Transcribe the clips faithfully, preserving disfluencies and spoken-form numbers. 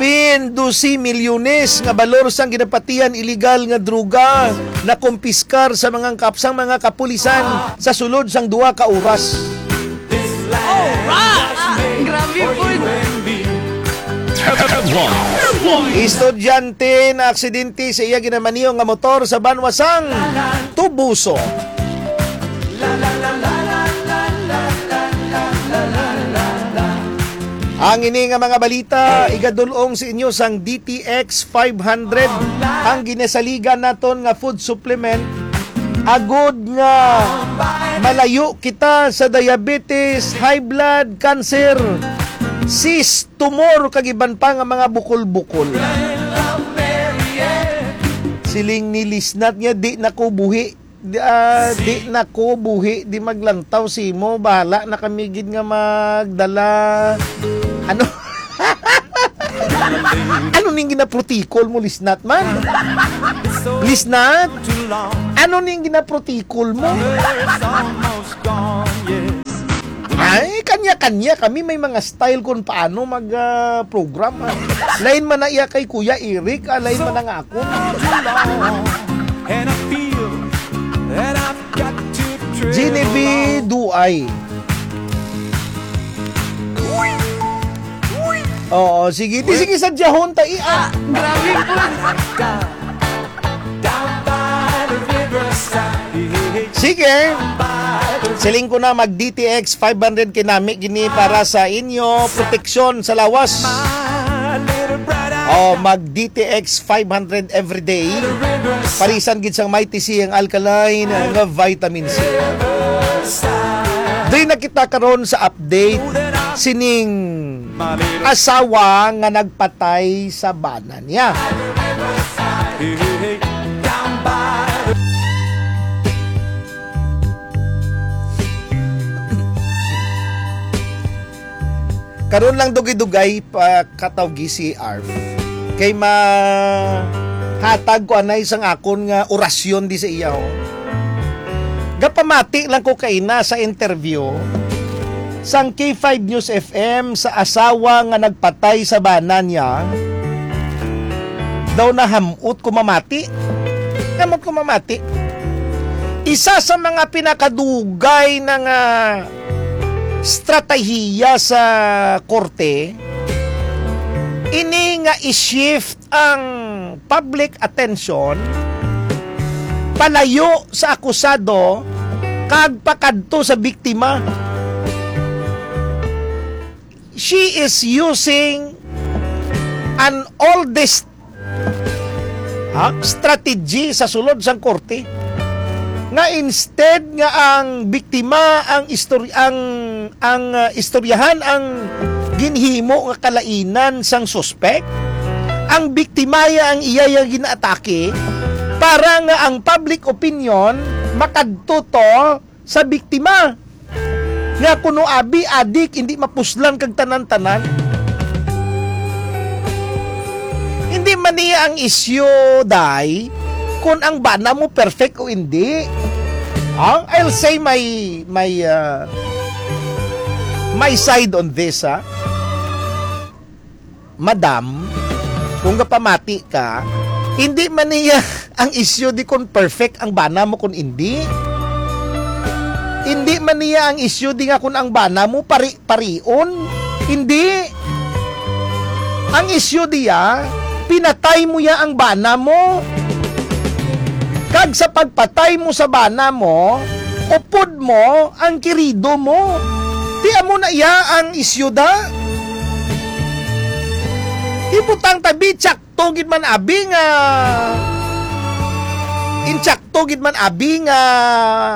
Pin dose milyones nga balor sang ginapatihan iligal nga droga nakumpiskar sa mga kap-, sang mga kapulisan sa sulod sang duha ka oras. Alright! Grabe po. Estudyante na aksidente sa iya ginamaniho nga motor sa Banwa sang Tubuso. Ang ini nga mga balita igadul-ong sa inyo sang D T X five hundred, ang ginasaligan naton nga food supplement, agod nga malayo kita sa diabetes, high blood, cancer, cyst, tumor, kag iban pa nga mga bukol-bukol. Siling ni Lisnat nga, "Di na ko buhi." Di, ah, di na ko buhi, di maglantaw simo. Bahala na kami gid nga magdala. Ano? Ano ning ginaprotikol mo, Lisnat man? Lisnat? Ano ning ginaprotikol mo? Ay, kanya-kanya kami may mga style kung paano mag, ah, program, ah. Lain man na iya kay Kuya Eric, ah, lain man na nga ako. And I feel that I've got to tread Genevieve alone. Duay. Oo, sige. Di, sige, sa Jahon ta, i-, ah. Grabe po. Sige. Siling ko na, mag D T X five hundred kinami gini para sa inyo proteksyon sa lawas. O, mag D T X five hundred everyday. Parisan gid sang Mighty C ang alkaline nga vitamin C. Diri na kita karon sa update sining asawa nga nagpatay sa bana niya. Karon lang dugay-dugay pa katawgi si Arf. Kay mahatag ko anay sang akon nga orasyon di sa iya, oh. Gapamati lang ko kaina sa interview sang K five News F M sa asawa nga nagpatay sa bana niya. Daw nahamot ko mamati. Hamot ko mamati. Isa sa mga pinakadugay na nga estratehiya sa korte, ini nga i-shift ang public attention palayo sa akusado kag pakadto sa biktima. She is using an oldest, ha, strategy sa sulod sang korte, nga instead nga ang biktima ang istorya, ang, ang, ah, istoryahan ang ginhimo nga kalainan sang suspek, ang biktima ya ang iya yang ginaatake para nga ang public opinion makadto to sa biktima. Nga kuno abi adik, hindi mapuslan kag tanan-tanan. Hindi man niya ang isyu, day, kung ang bana mo perfect o hindi. Ah, I'll say my, my, ah, my side on this, ha. Madam, kung gapamati ka, hindi man niya ang isyu di kung perfect ang bana mo kung hindi. Hindi man niya ang isyu di nga kung ang bana mo pari-parion. Hindi. Ang isyu diya, pinatay mo ya ang bana mo. Kag sa pagpatay mo sa bana mo, upod mo ang kirido mo. Di amo na iya ang isyu da. Ibutang tabi, tsakto gid man abi nga, intsakto gid man abi nga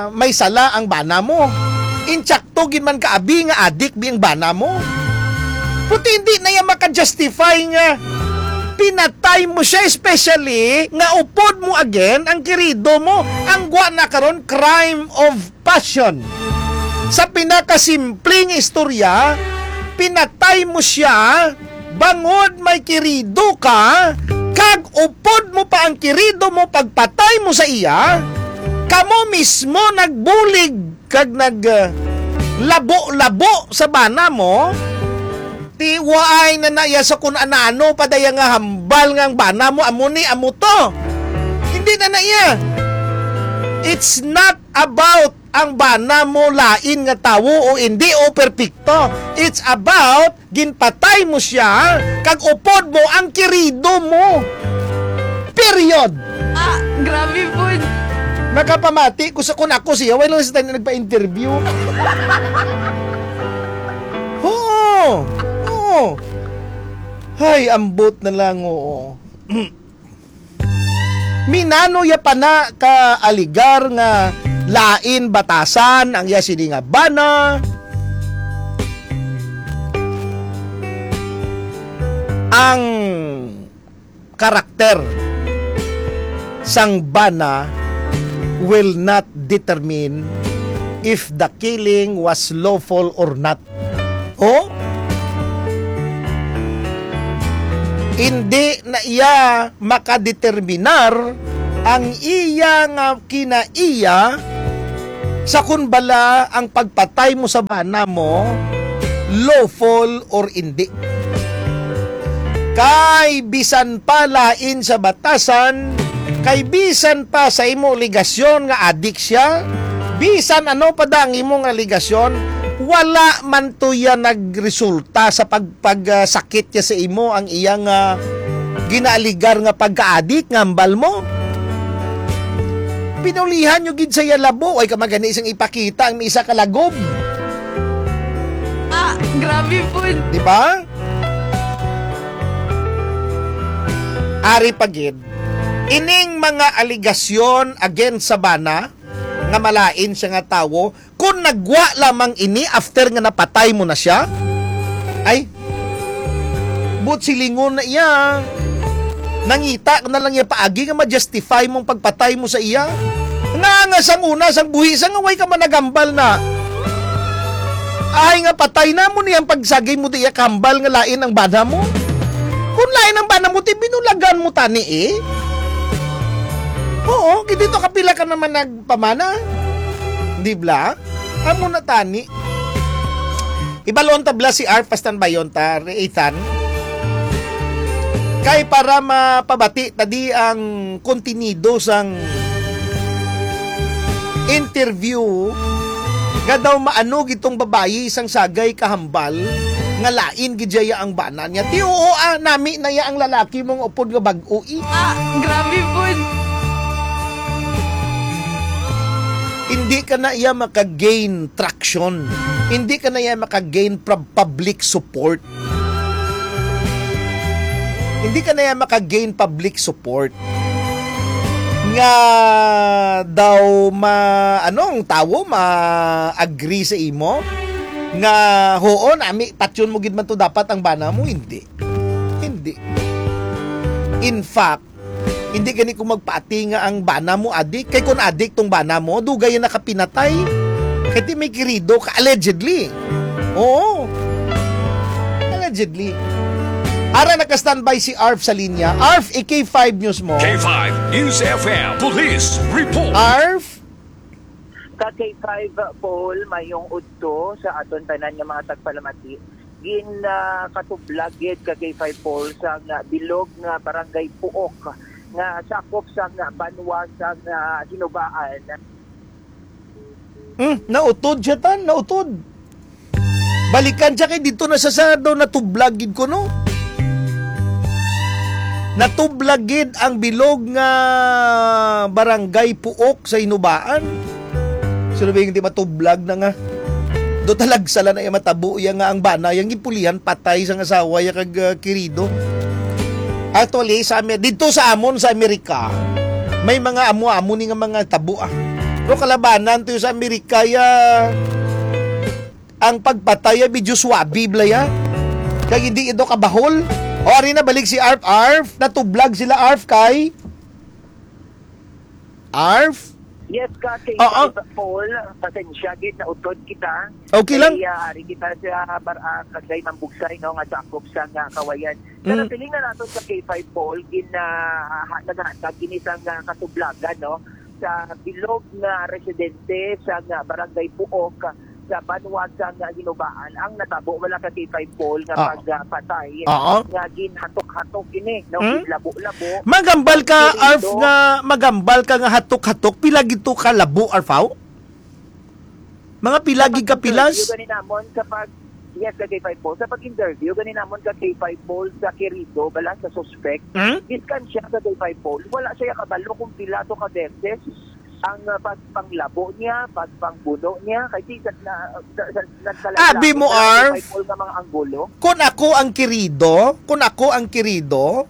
may sala ang bana mo. Intsakto gid man ka abi nga adik bi ang bana mo. Puti hindi na iya maka-justify nga pinatay mo siya, especially nga upod mo again ang kirido mo. Ang gwa na karon, crime of passion. Sa pinakasimpleng istorya, pinatay mo siya bangod may kirido ka, kag upod mo pa ang kirido mo pagpatay mo sa iya, kamo mismo nagbulig kag nag, uh, labo-labo sa bana mo, Ti, waay na na iya sa kun anano pa daya nga hambal nga ang bana mo, amo ni, amo to. Hindi na na iya. It's not about ang bana mo lain nga tawo o hindi o perpekto. It's about ginpatay mo siya, kag upod mo ang kirido mo. Period. Ah, grabe po. Nakapamati ko sa kun ako siya, wala lang sa tayo nagpa-interview. Oo. Oo. Hay, ambot na lang, oo. Minano ya pa na ka aligar nga lain batasan ang iya sini nga bana? Ang karakter sang bana will not determine if the killing was lawful or not. Oh? Hindi na iya makadeterminar ang iya nga kinaiya sa kun bala ang pagpatay mo sa bana mo lawful or indi. Kay bisan pa lain sa batasan, kay bisan pa sa imo alegasyon nga adik siya, bisan ano pa da ang imong alegasyon, wala man to yan nagresulta sa pag, pag, ah, sakit niya sa imo ang iyang, ah, ginaaligar nga pagkaadik nga hambal mo. Pinulihan nyo gid sa iya labo, ay ka magani sang ipakita ang isa ka lagob. Ah, grabe po. Di ba? Ari pa gid, ining mga aligasyon against sa bana nga malain siya nga tawo, kung nagwa lamang ini after nga napatay mo na siya, ay, but silingon na iya. Nangita na lang iya paagi nga ma-justify mong pagpatay mo sa iya. Nga, nga sang una, sang buhi, sa nga way ka man nagambal na. Ay nga patay na mo niyang pagsagay mo di iya kambal nga lain ang bana mo. Kung lain ang bana mo, ti binulagan mo tani eh. Oo, kay dito kapila ka naman nagpamana. Di bla? Amo na tani. Ibalon ta bla si Arf, pastanbayon ta, Ethan. Kay para mapabati ta di ang kontenido sang interview nga daw maano gitong babayi sang sagay kahambal nga lain gid siya ang bana niya. Ti oo, ah, nami na iya ang lalaki mong upod nga bag-o, eh. Ah, grabe po. Hindi ka na iya maka-gain traction. Hindi ka na iya maka-gain pub-, public support. Hindi ka na iya maka-gain public support. Nga daw ma-, anong tawo ma-agree sa imo? Nga, "Huon, ami, patyon mo gid man to dapat ang bana mo." Hindi. Hindi. In fact, hindi gani ko magpaati nga ang bana mo adik. Kay kung adik tong bana mo, dugay na nakapinatay. Kay ti may kirido ka, allegedly. Oo. Allegedly. Ara, naka-standby si Arf sa linya. Arf, i-K five News mo. K five News F M Police Report. Arf? Ka K five Paul, mayong udto sa aton tanan nga mga tagpalamati. Gin, ah, katublag gid ka K five Paul sa nga bilog nga barangay Puok nga sakop sa nga banwa sa nga Hinubaan. Hmm, nautod siya, tan, nautod. Balikan siya kay dito na sa, sa daw natublag gid ko, no? Natublag gid ang bilog nga barangay Puok sa Hinubaan. Sino ba yung di matublag na nga? Do talagsa lang na iya matabo iya nga ang bana, yang gipulihan patay sa nga asawa iya kag, ah, kirido. Actually, sa Amer-, dito sa amon sa Amerika, may mga amo-amo ni nga mga tabo, ah. Pero kalabanan to sa Amerika, ya, ang pagpatay, ya, medyo swabe, bla, ya. Kag hindi ito kabahol. O, ari na, balik si Arf. Arf, natublag sila, Arf, kay Arf? Yes, ka, kay Oo. Paul, pasensya, gid, nautod kita. Okay lang. Kay, ah, ari kita sa bar-, ah, Barangay Mambugsay, no, nga sakop sa nga Kawayan. Pero Mm. Piling na nato sa K five Paul, gin, ah, ha-, naghatag ini sa nga katublagan, no, sa bilog nga residente sa nga Barangay Puok, sa banwa sang Ginubaan ang natabo, wala ka, K five Paul, nga Oo. pagpatay Oo. nga ginhatok-hatok ini, no? Hmm? Ginlabo-labo. Magambal ka, Ang Arf, kirido. nga, magambal ka nga hatok-hatok, pila gid to ka labo, Arf, haw? Mga pila gid ka pilas? Sa pag-interview gani namon, sa pag, yes, ka K five Paul. Sa pag-interview gani namon ka K five Paul sa kirido, bala sa suspect, Hmm? Diskan siya ka K five Paul. Wala siya kabalo kung pila to ka beses ang, ah, pagpanglabo niya, pagpangbuno niya, kay si sa, na, sa, sa, nagkalain-lain Abi mo, na lang Arf. Kay Paul nga mga anggulo. Kun ako ang kirido, kun ako ang kirido,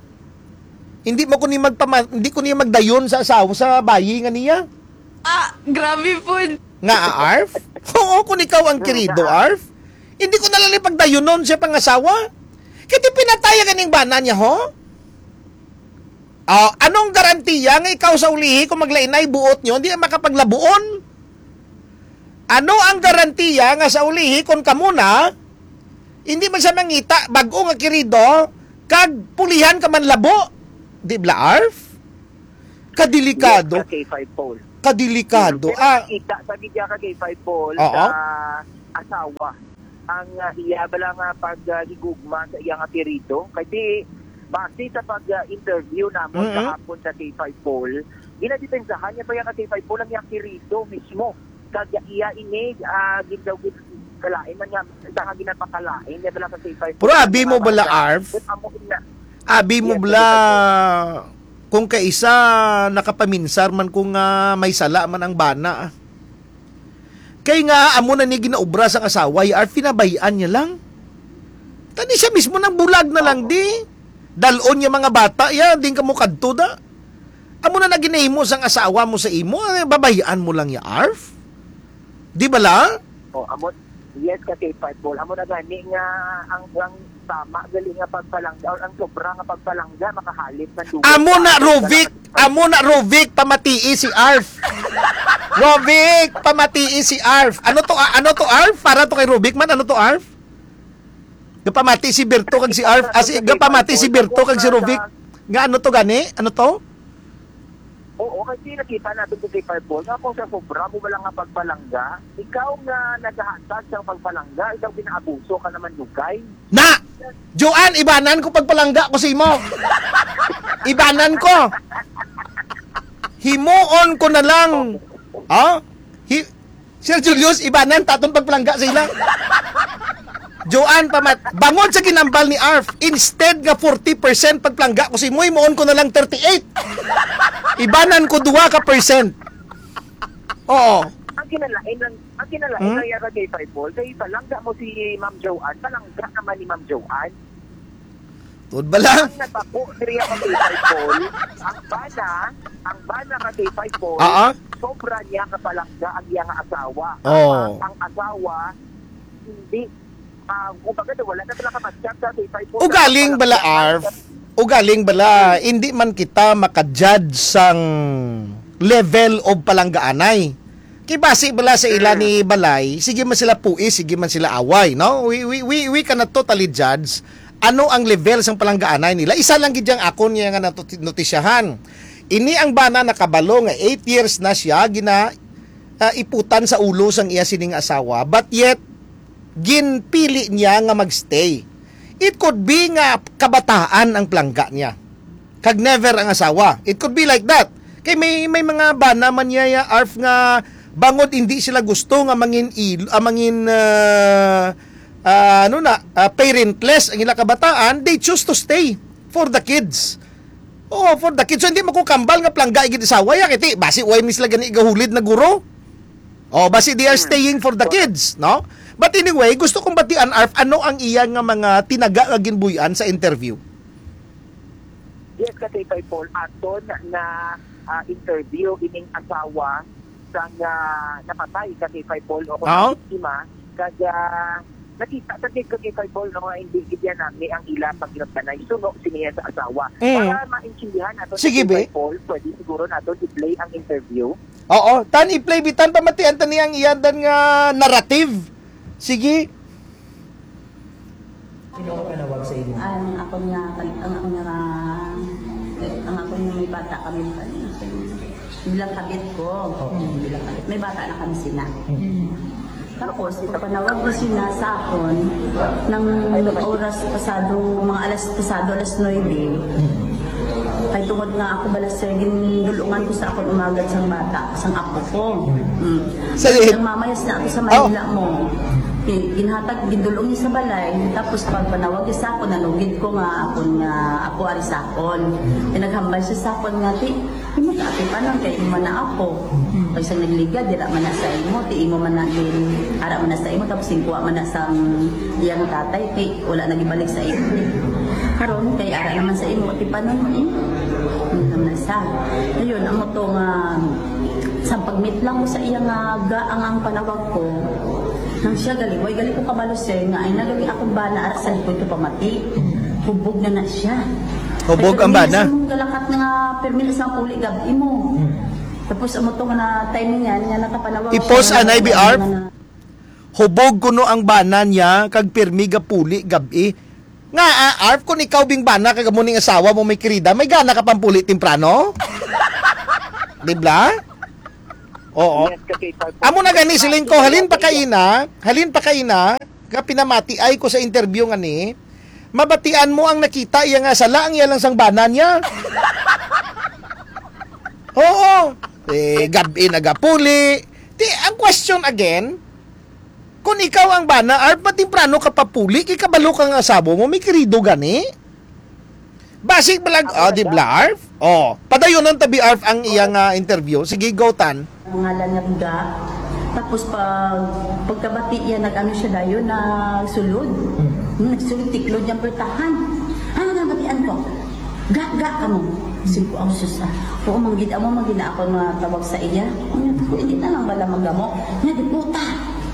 hindi mo ko ni magpama-, hindi ko ni magdayon sa asawa, sa bayi nga niya. Ah, grabe po. Nga, ah, Arf? Oo, kun ikaw ang kirido, Nga. Arf. Hindi ko na lang ni pagdayunon siya pangasawa. Kaya pinataya ganing bana niya, ho? Ah, anong garantiya nga ikaw sa ulihi kung maglainay buot nyo, hindi makapaglabuon? Ano ang garantiya nga sa ulihi kung kamo na, hindi man siya mangita, bag-o nga kirido, kag pulihan ka man labo? Di bala, Arf? Kadelikado. Yes, ka K five Paul. Kadelikado. Pero Ah. nakita sa media ka K five Paul Oo. sa asawa ang, ah, iya bala nga pag, ah, higugma sa iya nga kirido. Kasi base sa pag, ah, interview namon Mm-mm. kahapon sa K five Paul, ginadepensahan niya pa iya ka K five Paul ang iyang kirido mismo. Kag iya ini, ah, gid daw gid kalain man nga, sa nga ginapakalain niya bala sa K five Paul. Pero abi mo bala, Arf? Kung amo na. Abi mo Yes, bala, K five Paul. Kung kaisa nakapaminsar man kung, ah, may sala man ang bana, ah. Kay nga, amo na ni ginaobra sang asawa, ya, Arf, pinabayaan niya lang. Tani siya mismo nang bulag na lang, Oo. di. Dalon niya mga bata, ya, din ka mo kadto da. Amo na na ginahimo sang asawa mo sa imo, eh, babayaan mo lang ya, Arf. Di bala? Oh, amo, yes, ka K five Paul. Amo na gani nga ang, ang tama gali nga pagpalangga or ang sobra nga pagpalangga makahalip man dugay Amo sa na, aton Rovic. Amo na, Rovic, pamatii si Arf. Rovic, pamatii si Arf. Ano to, ah, ano to, Arf? Para to kay Rovic man, ano to, Arf? Gapamati si Berto kag si Arf, ah, si, gapamati si Berto kag si Rovic. Nga ano to gani? Ano to? Oo, kasi nakita natin sa K five Paul nga kung sa sobra mo wala nga pagpalangga, ikaw nga nagahatag sa pagpalangga, ikaw ginaabuso ka naman dugay. Na! Joan, ibanan ko pagpalangga ko sa imo. Ibanan ko. Himuon ko na lang. Ha? Hi-, Sir Julius, ibanan taton pagpalangga sa ila. Joan, pamat-, bangod sa ginambal ni Arf, instead nga forty percent pagpalangga ko sa imo, himuon ko na lang thirty-eight. Ibanan ko dua ka percent. Oo. Ang kinalain lang, ang kinalain Hmm? lang yata kay Five Ball, kay palangga mo si Ma'am Joan, palangga naman ni Ma'am Joan. Tuod ba lang? Ang natabo diri ang kay Five Ball, ang bana, ang bana ka kay Five Ball, Ah, ah. sobra niya kapalangga ang iyang asawa. Oo. Ang, ang asawa, hindi, ah, kumbaga, wala na sila ka-match sa kay Five Ball. Ugaling bala, Arf. Ugaling bala, hindi man kita makajudge sang level of palanggaanay. Kay basi bala sa ila Mm. ni Balay, sige man sila puis, sige man sila away, no? We, we, we, we cannot totally judge ano ang level sang palanggaanay nila. Isa lang gid yang akon niya nga natu-, notisyahan. Ini ang bana nakabalo nga eight years na siya gina, ah, iputan sa ulo sang iya sining asawa, but yet ginpili niya nga magstay. It could be nga kabataan ang palangga niya. Kag never ang asawa. It could be like that. Kay may, may mga bana man niya, ya, Arf, nga bangod hindi sila gusto nga mangin il-, ah, mangin, ah, ah, ano na, ah, parentless ang ila kabataan, they choose to stay for the kids. Oo, for the kids. So, hindi mo ko kambal nga palangga igid asawa, ya, kay ti, basi way mi sila gani igahulid na guro. Oh, basi they are Hmm. staying for the Correct. kids, no? But anyway, gusto kong batian, Arf, ano ang iya nga mga tinaga nga ginbuy-an sa interview? Yes, ka K five Ball, aton na, ah, interview ining asawa sang, ah, napatay ka K five Ball o kung Ah? biktima, kag, ah, nakita sa K five Ball, no, nga hindi gid yan nami ang ila paghinumdanay suno siniya sa asawa. Mm. Para maintindihan nato Sige, sa K five Ball, pwede siguro nato i-play ang interview. Oo, tan i-play bitan pamatian ta niya ang iya dan nga narrative. Sige. Sino ka panawag sa imo? Ang ako niya, ang ako niya, ang ako niya may bata kami. Bilang kabit ko. Oo. Bilang kabit. May bata na kami sila. Mm. Tapos, ipapanawag na sila sa akon ng oras pasado, mga alas pasado, alas nuebe. Kay tungod nga ako bala, sir, gindulungan ko sa akon umagad sang bata, sang apo ko. Mm. Sa Ang mamayas na ako sa Manila mo. Gi-, ginhatag, gindulong niya sa balay. Tapos, pagpanawag niya sa akon, nanugid ko nga akon nga apo ari sa akon. Kay naghambal siya sa akon nga, "Ti, imo ta, ati pa lang kay imo man na apo. Kay sang nagliga, dira man na sa imo, ti imo man na gin, ara man na sa imo, tapos ginkuha man na sang iyang tatay, kay wala na gibalik sa imo." Karon, kay ara naman sa imo, ti panon mo, eh. Ano naman sa? Ayun, amo to nga, sa pagmit lang ko sa iya nga gaang ang panawag ko, nang siya gali, way gali ko kabalo, sir, nga ay nagali akong bana ara sa likod ko pamati. Hubog na na siya. Hubog ang bana. Kay permi na sa mong galakat nga permi na sa puli gab-i mo. Tapos amo to nga na timing yan, nga nakapanawag I-pause siya, anay, B R. Nga na- Hubog kuno ang bana niya, kag pirmi gapuli gab-i. Nga, ah, Arf, kung ikaw bing bana, kag amo ning asawa mo, may kirida, may gana ka pampuli temprano? Di ba? Oo. Yes, kasi pag- Amo na gani, siling ko, halin pa kaina, halin pa kaina, nga pinamati ay ko sa interview nga ni, mabatian mo ang nakita iya nga sala ang iya lang sang bana niya. Oo. Eh, gab-i nagapuli. Ti, ang question again, kung ikaw ang bana, Arf, matemprano ka papuli, kay kabalo ka nga asawa mo, may kirido gani? Basig balag, Ako oh, na di ba? Bla, Arf? Oh, padayonon ta, bi, Arf, ang iyang, ah, interview. Sige, go, Tan. Ang ngalan niya Ga. Tapos pag, pagkabati niya, nag-ano siya dayon, nagsulod. Hmm. Hmm, nagsulod, tiklod niyang pultahan. Ano nga batian ko? Ga, ga ka mo. Sige ko, ang sus, ah. Oo, manggid, amo, manggid na ako nga tawag sa iya. Ano ko, hindi na lang wala magamo. Niya, di puta.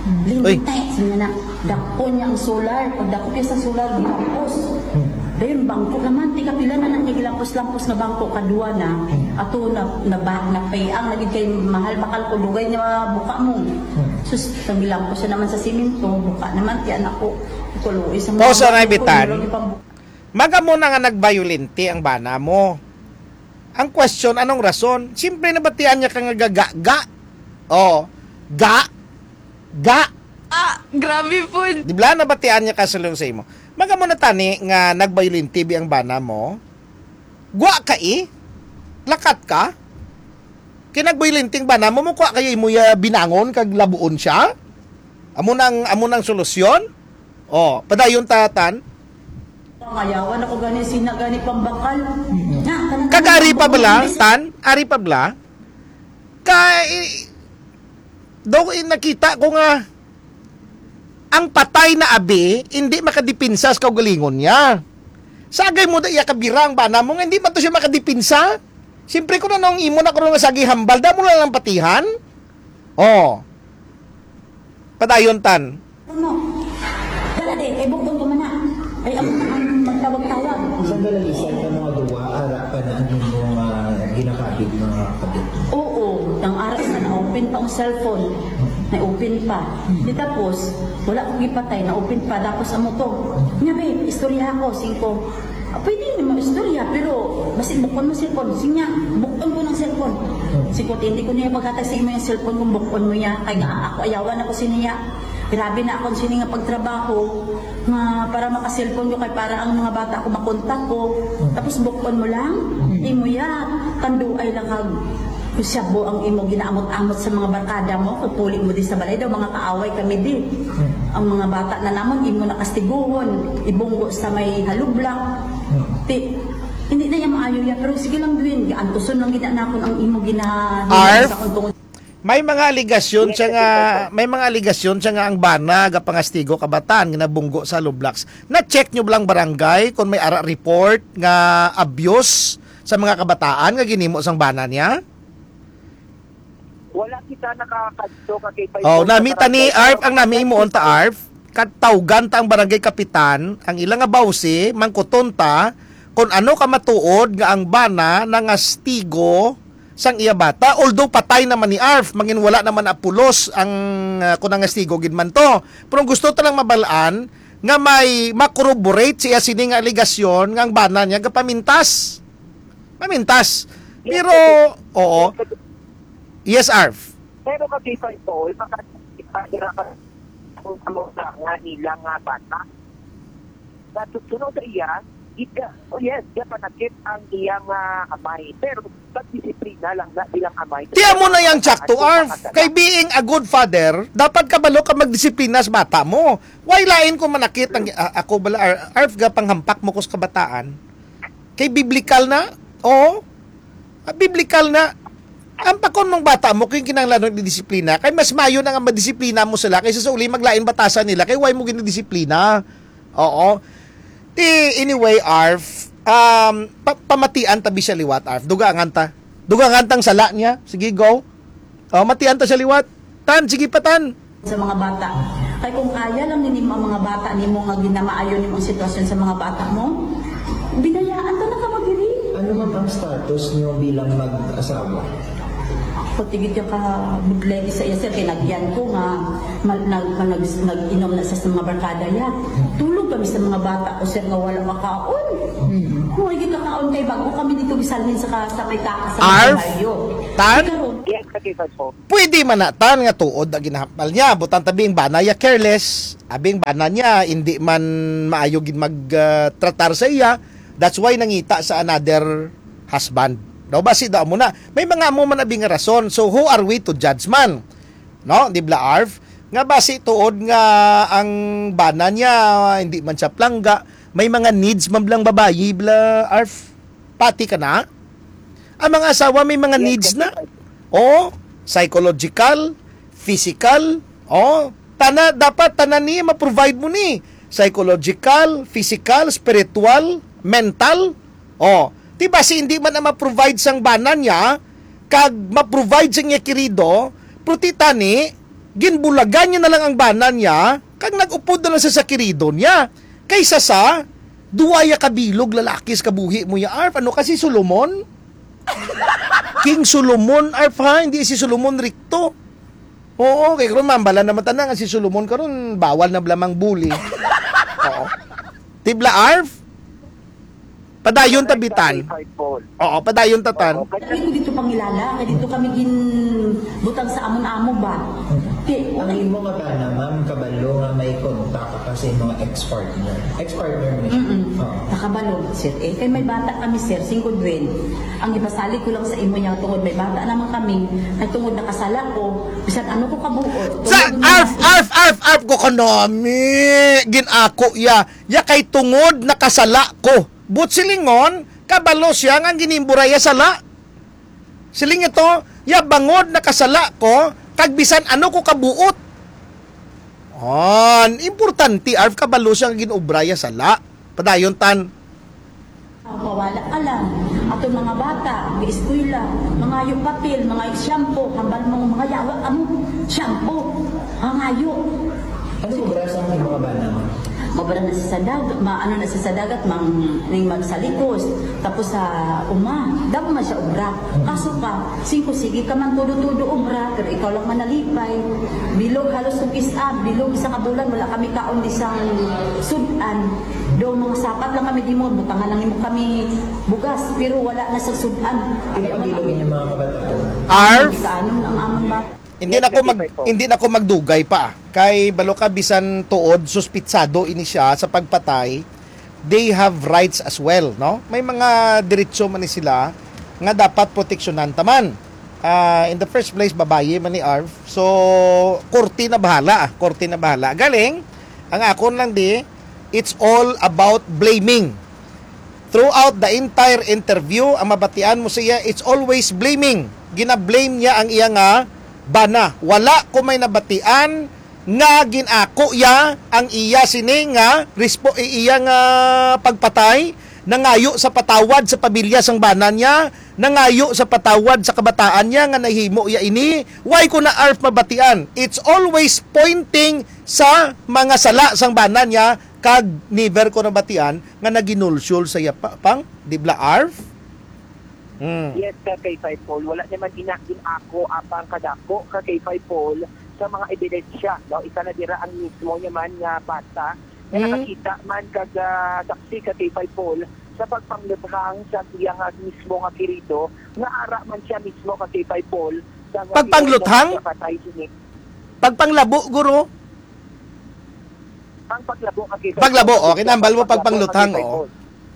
Hmm. Linte, sige na. Dakpo niya ang solar. Pagdakop niya sa solar, gilapos. Hmm. Dayon, bangko naman, tiga pila na lang niya gilapos-lapos nga bangko, kadua na. Hmm. Ato na, na ba, napayang, lagi kay mahal bakal ko, dugay niya buka mo. Hmm. Sus, ang gilapos siya naman sa simento, buka naman, tiyan ako. Kulo, isang Pause mga na, bangko, Bitan. Meron ipambu- Magamo na nga nagbayolente ang bana mo. Ang question, anong rason? Siyempre, nabatian niya ka nga ga, ga, ga. Oh, ga, ga. Ah, grabe po. Di ba, nabatian niya ka sa lungsay mo? Magamo na tani nga nagbayolente bi ang bana mo? Gwa ka, eh? Lakat ka? Kinagbayolenteng bana mo, mo kwa kayo imo ya binangon kag labuon siya? Amo nang, amo nang solusyon? Oh, padayon ta, Tan. Pangayawan ako gani, sina gani pambakal. Mm-mm. Na, kanang Kag ari pa bala, Tan? Ari pa bala? Ka, i-, daw, i-, nakita ko nga ang patay na abi, hindi makadipinsa sa kaugalingon niya. Sagay mo da iya kabira ang bana mo nga hindi man to siya makadipinsa. Siyempre, kung ano ang imo na, kung nga sagi hambal, damo na lang patihan. Oh. Padayon, Tan. Ano? Dala, de, kay bukton ko man na. Ay, ang, ang magtawag-tawag. Sa dalalisan ka mga duwa, ara pa na ang inyong, ah, ginakabit, mga kabit? Oo, nang ara sa na-open pa ang cellphone. Na-open pa. Di tapos, wala ko gipatay, na-open pa. Tapos amo to. Nga, be, istorya ako, singko. Ah, pwede naman istorya, pero basi bukon mo cellphone. Sinya, bukon ko ng cellphone. Singko, hindi ko niya paghatag sa imo yung cellphone kung bukon mo niya. Kay nga, ako, ayawan ako siniya. Grabe na akong sini nga pagtrabaho nga para maka-cellphone ko kay para ang mga bata ko makontak ko. Tapos bukon mo lang, imo ya, tanduay lang kag kusyabu ang imo ginaamot-amot sa mga barkada mo. Kung puli mo di sa balay daw, mga kaaway kami di. Ang mga bata na namon, imo na kastiguhon, ibunggo sa may halublak. Ti, hindi na yan maayo ya, pero sige lang, Dwayne, antuson lang gina nakon ang imo gina Arf? Sa akong tungod. May mga aligasyon Yes, siya nga, Secretary. May mga aligasyon siya nga ang bana gapangastigo kabataan nga nabunggo sa Lublax. Na-check nyo ba lang barangay kung may ara report nga abuse sa mga kabataan nga ginimo sang bana niya? Wala kita nakakadto ka kay Oh, Paypon nami sa tani, barangay. Arf, ang nami imuon ta, Arf, katawgan ta ang barangay kapitan, ang ila nga bawsi, mangkuton ta kung ano ka matuod nga ang bana nangastigo sang iya bata, although patay naman ni Arf, mangin wala naman apulos ang, ah, kung nangastigo gid man to. Pero ang gusto ta lang mabalaan nga may makorroborate siya sini nga aligasyon nga ang bana niya gapamintas. Mamintas. Yes, Pero, sir. Oo. Yes, Arf. Pero kag Paypon, maka-, maka-, Kung ano sa nga nila nga bata. Sa susunod sa iya, ika, oh yes, siya panakit ang iya nga amay. Pero pagdisiplina lang na bilang amay. Ti amo na yang tsakto, Arf. Kay being a good father, dapat kabalo ka magdisiplina sa bata mo. Why lain kung manakit ang, a-, ako bala, Ar-, Arf, ga panghampak mo ko sa kabataan? Kay biblikal na? Oo. Ah, biblikal na. Ang pakon mong bata mo, kung kinahanglan ng disiplina, kay mas mayo na nga madisiplina mo sila kaysa sa uli maglain batasan nila, kay why mo ginadisiplina? Oo. Ti, anyway, Arf, um, pa-, pamatian ta bi siya liwat, Arf. Dugangan ta. Dugangan tang sala niya. Sige, go. Oh, matian ta siya liwat. Tan, sige pa, Tan. Sa mga bata. Kay kung kaya lang nimo ang mga bata nimo nga ginamaayo nimo ang sitwasyon sa mga bata mo, binayaan ka na ka magdiri. Ano man ang status niyo bilang mag-asawa? Ako, tigit ka ka budlay sa iya, sir, kay nagyan ko nga mal-, nag-, nag-, nag-inom na sa, sa mga barkada niya. Tulog kami sa mga bata ko, sir, nga wala makaon. Mm. Kung hindi kakaon kay bago kami dito gisalin sa ka-, sa may taas sa Arf? Baryo. Tan? Karon, yes, okay, sir, po. Pwede man na, Tan, nga tuod ang ginahambal niya. Butang tabi ang bana niya careless. Abing bana niya, hindi man maayo gid mag, ah, tratar sa iya. That's why nangita sa another husband. Daw basi daw mo na. May mga amo man abi nga rason. So, who are we to judge man? No? Di bla, Arf? Nga basi tuod nga ang bana niya, hindi man siya plangga. May mga needs man blang babayi, bla, Arf? Pati ka na? Ang mga asawa may mga Yes, needs na. Kasi Oh, psychological, physical. Oh, tana, dapat tanan ni ma-provide mo ni. Psychological, physical, spiritual, mental. Oh, di ba si hindi man ang ma-provide sang bana niya, kag ma-provide sa iya kirido, pero ti tani, ginbulagan niya na lang ang bana niya, kag nag-upod na lang sa, sa kirido niya. Kaysa sa, duwa ya kabilog lalaki sa kabuhi mo ya, Arf. Ano ka, si Solomon? King Solomon, Arf, ha? Hindi si Solomon Rikto. Oo, kay karon mambala naman tanan nga si Solomon karon bawal na bala mang bully. Oo. Tibla, Arf? Padayon ta, Bitan. Five-fold. Oo, padayon ta, Tan. Oo, Kami ko dito pangilala, nga dito kami ginbutang sa amon amo ba? Ti, Ang imo nga bana, ma'am, kabalo nga may kontak ka sa imong ex-partner. Ex-partner mo siya? Mm-mm. Oo. Nakabalo, sir. Eh, kay may bata kami, sir, singko duwen. Ang ipasalig ko lang sa imo niya, tungod may bata naman kami, ay tungod nakasala ko, bisan ano ko kabuot, Sa tungod arf, niya. Arf, arf, arf ko kanami, ginako ya. Ya kay tungod nakasala ko. But silingon, kabalo siya nga ginimburay ya sala. Siling ito, ya bangod nakasala ko, kag bisan ano ko kabuot. On, importante, Arf, kabalo siya nga ginobra ya sala. Padayon, Tan. Mawala ka lang. Ato mga bata, eskwela, mangayo papel, mangayo shampoo, hambal mo mga yawa, amo, shampoo, mangayo. Ano mo sa mga bana mo? Mabara na sa sadag, ma-, ano na sa sadagat, mang, ning magsalikos, tapos sa uma, damo man siya obra. Kaso ka, singko sige ka man tudo-tudo obra, pero ikaw lang manalipay. Bilog halos kung is-, ah, bilog isa ka bulan, wala kami kaon di sang sudan. Do, mga sapat lang kami di mo, butangan lang mo kami bugas, pero wala na sa sudan. Ano ang bilog ninyo mga kabataan? Arf? Kaano ang among bata? Hindi na ko mag-, hindi na ko magdugay pa. Kay balo ka, bisan tuod, suspitsado ini siya sa pagpatay, they have rights as well, no? May mga diretso man ni sila nga dapat proteksyonan ta man. Ah, in the first place, babayi man ni Arf. So, korte na bahala, ah. Korte na bahala. Galing, ang akon lang di, it's all about blaming. Throughout the entire interview, ang mabatian mo siya, it's always blaming. Gina-blame niya ang iya nga bana. Wala ko may nabatian nga gin-ako ya ang iya sini nga respo-, i-, iya nga pagpatay, nangayo sa patawad sa pamilya sang bana niya, nangayo sa patawad sa kabataan niya nga nahimo ya ini. Why ko na, Arf, mabatian? It's always pointing sa mga sala sang bana niya, kag never ko nabatian nga naginulsyol sa iya pa-, pang, di bla, Arf? Hmm. Yes, ka kay Five Paul. Wala naman ina din ako apang kadako ka kay Five Paul sa mga ebidensya, no? Isa na dira ang mismo niya man nga bata nga Hmm. nakakita man kag, ah, saksi ka kay Five Paul sa pagpangluthang sa iya nga mismo nga kirido, nga ara man siya mismo ka kay Five Paul sa Pagpangluthang? Patay sini. Pagpanglabo, guro? Ang paglabo, ka K five Paglabo, Paul, oh, kinahambal mo paglabo, pagpangluthang, ka K five oh. Paul.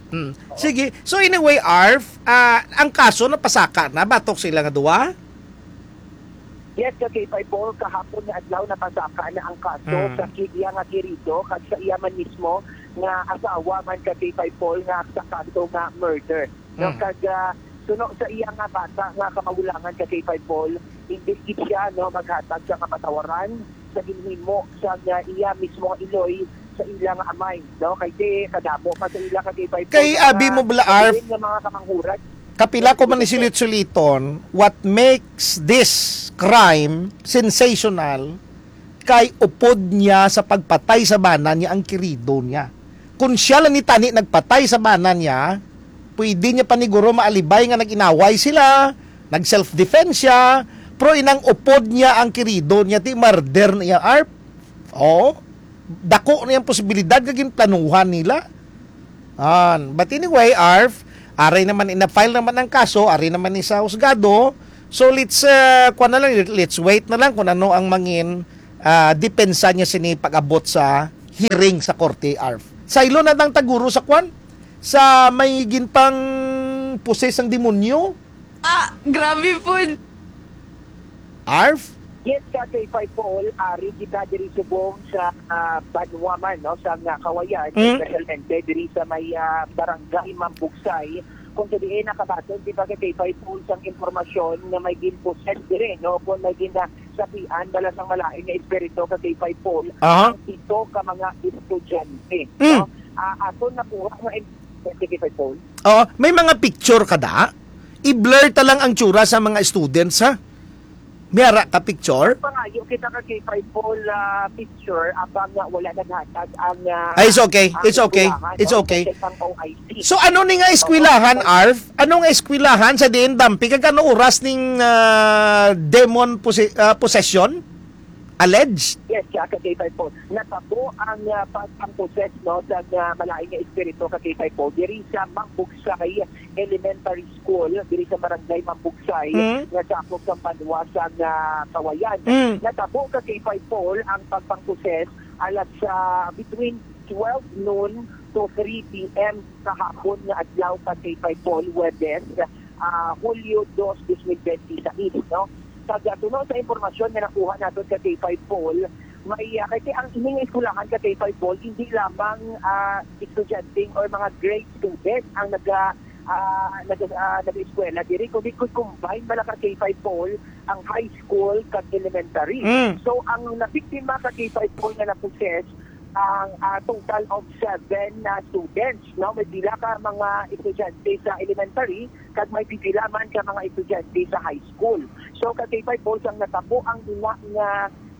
Hmm. Oo. Sige. So anyway, Arf, ah, ang kaso napasaka na batok sila nga duwa? Yes, ka K five Paul, kahapon nga adlaw napasaka na ang kaso Hmm. sa ki-, iya nga kirido kag sa iya man mismo nga asawa man, ka K five Paul, nga sa kaso nga murder. No, Hmm. kag, ah, suno sa iya nga bata nga kamagulangan, ka K five Paul, hindi gid siya, no, maghatag sa kapatawaran sa ginhimo sa nga iya mismo nga iloy sa ila nga amay, no? Kay di, kadamo pa sa ila, ka K five Paul, Kay nga abi mga mo bala, Arf, diin nga mga kamanghuran. Kapila ko man ni Yes, sir. silit-suliton, what makes this crime sensational kay upod niya sa pagpatay sa bana niya ang kirido niya. Kung siya lang ni tani nagpatay sa bana niya, pwede niya paniguro maalibay nga nag-inaway sila, nag-self-defense siya, pero inang upod niya ang kirido niya, ti murder niya, Arf. Oo. Dako na yung posibilidad nga ginplanuhan nila. An, but anyway, Arf, aray naman, ina-file naman ang kaso, aray naman ni sa husgado. So let's, uh, kuwan na lang, let's wait na lang kung ano ang mangin, ah, depensa niya sini pag-abot sa hearing sa korte, Arf. Saylo na tang taguro sa kwan, sa may ginpang poses ang demonyo. Ah, grabe po. Arf? Yes, ka K five Paul, ari kita diri subong sa, ah, banwa man, no, sa nga Kawayan, Mm. especially diri sa may, ah, barangay Mambugsay, kung sa diin nakabaton, di ba, ka K five Paul, sang impormasyon nga may ginpossess diri, no, kung may ginasapian bala sang malain nga espiritu, ka K five Paul, Aha. ang pito ka mga estudyante, Mm. no? Ah, aton nakuha nga in-, ka K five Paul. Oo, may mga picture ka da? I-blur ta lang ang tsura sa mga students, ha? May ara ka picture? Pangayo kita ka K five Paul, ah, picture, abang nga wala naghatag ang, ah, Ah, it's okay. ang It's okay. eskwelahan, It's no? okay. Sa isang O I C. So, ano ni nga eskwelahan, Oo. Arf? Ano nga eskwelahan sa diin dampi? Kag ano oras ning, ah, demon pose-, ah, possession? Alleged? Yes, siya ka K five Paul. Natabo ang, ah, pag-, ang possess, no, sa, ah, malain nga espiritu ka K five Paul diri sa Mambugsay Elementary School, diri sa Barangay Mambugsay, Mm. nga sakop sa banwa sa, ah, Kawayan. Mm. Natabo ka K five Paul ang pagpangposes alas, ah, between twelve noon to three P M kahapon nga adlaw ka K five Paul, Huwebes, ah, Hulyo dos, dos mil benti sais, no? Kag, ah, suno sa impormasyon nga nakuha naton ka K five Paul, may, ah, kay ang ining eskwelahan ka K five Paul, hindi lamang, ah, estudyante or mga grade student ang naga-, ah, naga-, ah, nag-eskwela diri, kundi kun combine bala ka K five Paul ang high school kag elementary. Mm. So, ang nabiktima ka K five Paul nga na-possess, ang, ah, total of seven na students, no? May pila ka mga estudyante sa elementary, kag may pipila man ka mga estudyante sa high school. So, ka K five Paul, sang natabo ang ina nga,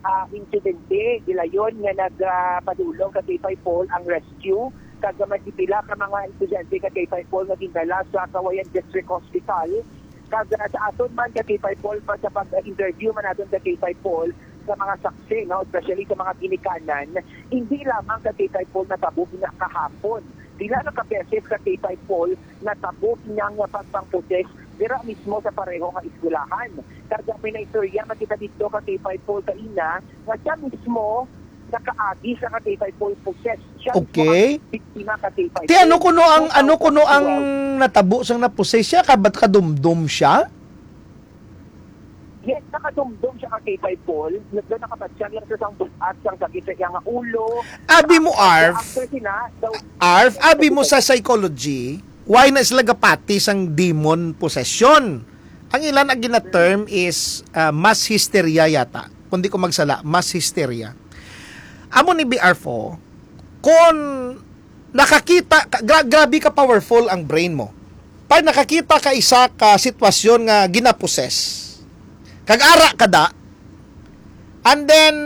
ah, insidente, gilayon nga nag, ah, padulong ka K five Paul ang rescue, kag may pipila ka mga estudyante ka K five Paul nga gindala sa Kawayan District Hospital. Kag, ah, sa aton man ka K five Paul, pa sa pag-interview man naton ka K five Paul sa mga saksi, no, especially sa mga ginikanan, hindi lamang ka K five Paul natabo nga kahapon. Pila na ka beses ka K five Paul natabo nga nga pagpangposes dira mismo sa pareho nga eskwelahan. Kag may naistorya man kita dito ka K five Paul kaina nga siya mismo nakaagi sa ka K five Paul possess. Siya mismo Okay. ang biktima ka K five Paul. Ti ano kuno ang, ano kuno ang Wow. natabo sang na-possess siya? Kabat kadumdom siya? Yes, nakadumdom siya ka K five Paul. Nagda nakabatyag lang sa sang buhat, sang sakit sa iya nga ulo. Abi mo, After, Arf. after sina, daw, Arf, abi mo sa psychology, why na sila gapati sang demon possession? Ang ilan ang gina-term is, ah, mass hysteria yata. Kung di ko magsala, mass hysteria. Amo ni B R four, kung nakakita ka, gra-, grabe ka powerful ang brain mo. Pag nakakita ka isa ka sitwasyon nga ginapossess, kag ara ka da, and then,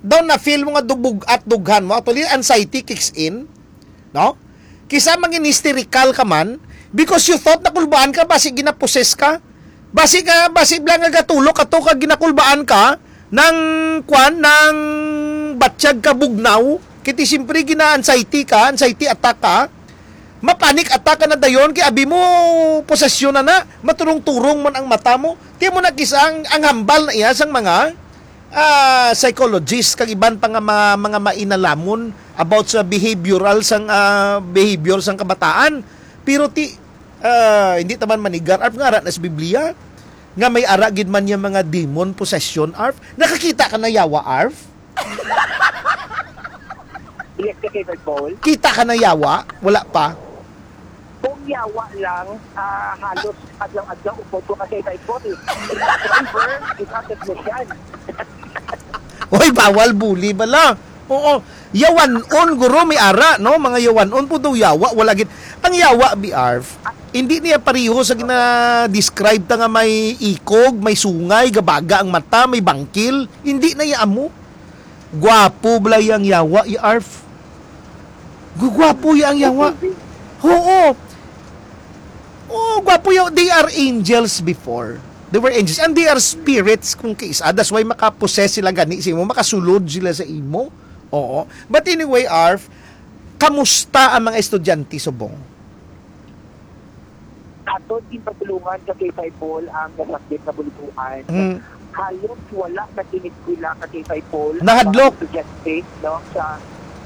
daw na-feel mo nga dubog at dughan mo, actually, anxiety kicks in, no? Kisa mangin hysterical ka man, because you thought nakulbaan ka, basi ginapossess ka. Basi ka, basi bla nga gatulok ato ka ginakulbaan ka, nang kwan, nang batyag ka bugnaw, kiti siyempre gina-anxiety ka, anxiety attack ka, ma-panic attack ka na dayon, kay abi mo, posesyon na na, maturong-turong man ang mata mo, ti mo na kisa ang, ang hambal na iya sang mga ah, psychologist kag iban pa nga mga, mga mainalamon about sa behavioral sang, ah, behavior sang kabataan. Pero ti, ah, hindi ta man manigar, Arf, nga ara na sa Biblia nga may ara gid man niya mga demon possession, Arf. Nakakita ka na yawa, Arf? Yes, ka kay Paul. Kita ka na yawa? Wala pa? Kung yawa lang, ah, halos adlaw-adlaw upod ko ka kay Paul. Driver, ikaw technician. Oy, bawal bully bala. Oo. Yawanon, guro, may ara, no? Mga yawanon po daw yawa. Wala gid. Ang yawa, B R, hindi niya pareho sa gina-describe ta nga may ikog, may sungay, gabaga ang mata, may bangkil. Hindi na iya amo. Gwapo bala yang yawa, i Arf. Gugwapo ya ang yawa. Oo. Oh, gwapo yaw. They are angels before. They were angels. And they are spirits kung kaisa. That's why makapossess sila gani sa imo. Makasulod sila sa imo. Oo. But anyway, Arf, kamusta ang mga estudyante subong? Atod ginpatulungan sa K five Paul ang nasakit na bulituan. Mm. Halos wala na kini eskwela sa K five Paul Nahadlok. Ang mga estudyante, no, sa